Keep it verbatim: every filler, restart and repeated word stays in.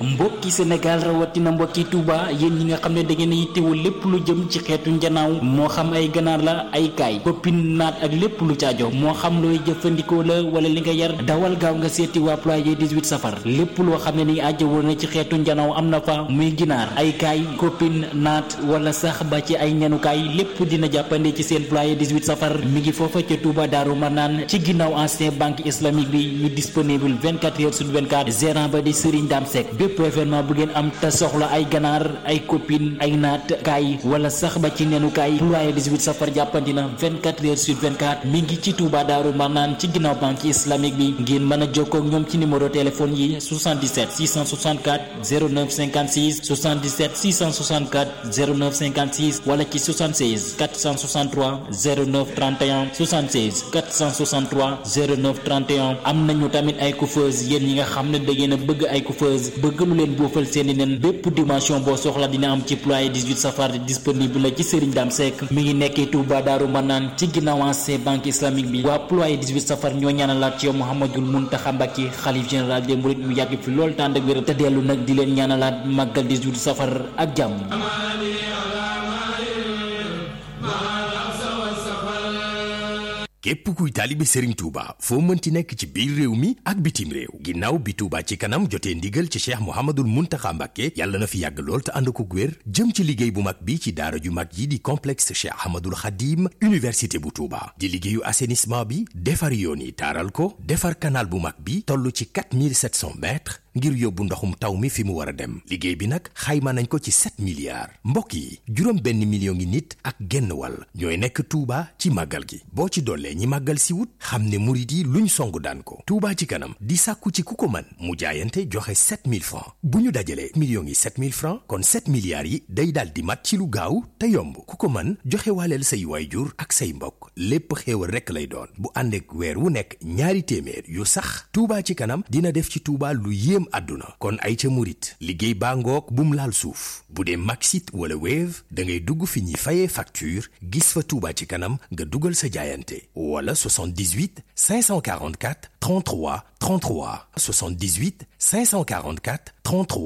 mbokki Sénégal rawatina mbokki Touba yéen ñi nga xam ne da ngeen a yittewoo lépp lu jëm ci xeetu njanaaw moo xam ay ganaar la ay kaay koppin naat ak lépp lu caajo moo xam looy jëfandikoo la wala li nga yar dawal gaaw nga seeti waa ployer dix-huit safar lépp loo xam ne ni ajjawoo na ci xeetu njanaaw am na fa muy ginaar ay kaay koppin naat wala sax ba ci ay ñanukaay lépp dina jàppande ci seen ployer dix-huit safar mi ngi foofa ca Touba Daaru Marnaan ci ginnaaw ancien banque islamique bi ñu disponible vingt-quatre heures sur vingt-quatre gérant ba di Serigne Dame Seck bépp événement bu ngeen am te soxla ay ganaar ay copine ay naat kaay wala sax ba ci nenu kaay ployer dix-huit safar jàppandi na vingt-quatre heures sur vingt-quatre mi ngi ci Touba Daaru Marnaan ci ginnaaw banque islamique bi ngeen mën a jokkoo ak ñoom ci numéro téléphone yi soixante-dix-sept six cent soixante-quatre zéro neuf cinquante-six soixante-dix-sept six cent soixante-quatre zéro neuf cinquante-six wala ci soixante-seize quatre cent soixante-trois zéro neuf trente et un soixante-seize quatre cent soixante-trois zéro neuf trente et un am nañu tamit ay coiffeuse yéen ñi nga xam ne da ngeen a bëgg ay coiffeuse bëgg lu leen boofal seeni nen bépp dimension boo soxla dina am ci ployer dix-huit safar disponible la ci Serigne Dame Seck mi ngi nekkee Touba Daaru Marnaan ci ginnaaw ancien banque islamique bi waa ployer dix-huit safar ñoo ñaanalaat ci yow Mouhamadoul Mountakha Mbacké xalif général des mourides mu yàgg fi lool tànd ak wér te dellu nag di leen ñaanalaat màggal dix-huit safar ak jàmm. képp kuy taalibe Serigne Touba foo mënti nekk ci biir réew mi ak bitim réew ginnaaw bi Touba ci kanam jotee ndigal ci Cheikh Mouhamadoul Mountakha Mbacké yàlla na fi yàgg lool te ànd ko wér jëm ci liggéey bu mag bi ci daara ju mag yi di complexe Cheikh Ahmadoul Khadim université bu Touba di liggéeyu assainissement bi defar yoon yi taaral ko defar canal bu mag bi toll ci quatre mille sept cents mètres ngir yóbbu ndoxum taw mi fi mu war a dem liggéey bi nag xayma nañ ko ci sept milliards mbokk yi juróom benn million ngi nit ak genn wàll ñooy nekk Touba ci màggal gi boo ci dollee ñi màggal si wut xam ne murit yi luñ songu daan ko Touba ci kanam di sàkku ci ku ko mën mu jaayante joxe sept mille francs bu ñu dajalee millions yi sept mille francs kon sept milliards yi day daal di mat ci lu gaaw te yomb ku ko mën joxe waaleel say waayjur ak say mbokk lépp xéewal rekk lay doon bu ànd ak weer wu nekk ñaari téeméer yu sax Touba ci kanam dina def ci Touba lu yéem àdduna kon ay ca murit liggéey baa ngoog bum laal suuf bu dee Maxit wala Wave da ngay dugg fi ñuy fayee facture gis fa Touba ci kanam nga dugal sa jaayante wala soixante-dix-huit cinq cent quarante-quatre trente-trois trente-trois soixante-dix-huit cinq cent quarante-quatre trente-trois